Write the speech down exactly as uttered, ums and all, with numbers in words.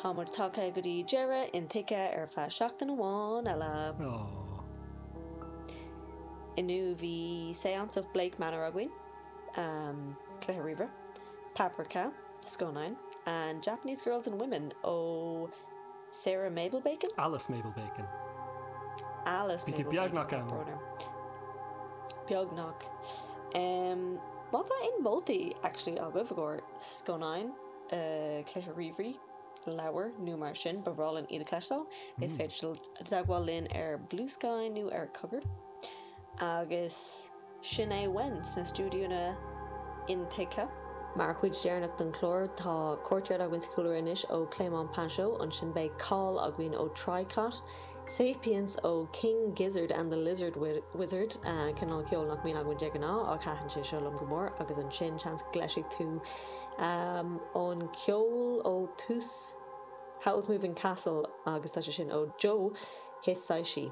Tá muid tagtha go dtí deireadh Intuigthe ar feadh seachtain amháin eile. Oh. Inniu bhí Seance of Blake Manor againn, um, cluiche ríomhaire, Paprika, scannáin, and Japanese Girls and Women ó Sarah Mabel Bacon? Alice Mabel Bacon. Alice Bhí tú Mabel beagnach Bacon, ann. brón orm. Beagnach. Um, má tá aon moltaí actually agaibh i gcomhair scannáin, uh, cluiche ríomhairí, leabhar nó mar sin ba bhreá linn iad a chloisteáil, is Mm. féidir dul i dteagmháil linn ar Blue Sky nó ar Cogar. Agus sin é uainn sna stiúidíonna Intuigthe. Mar chuid deireanach den chlár tá Courtyard againn sa chúlra anois ó Clément Pinchot, ansin beidh Call againn ó Tricot, Sapiens ó King Gizzard and the Lizard Wi- Wizard uh, cineál ceol nach mbíonn againn de ghnáth ach thaitin sé seo liom go mór agus ansin seans go gcloisfidh tú um, an ceol ó tús Howl's Moving Castle agus tá sé sin ó Joe Hisaishi.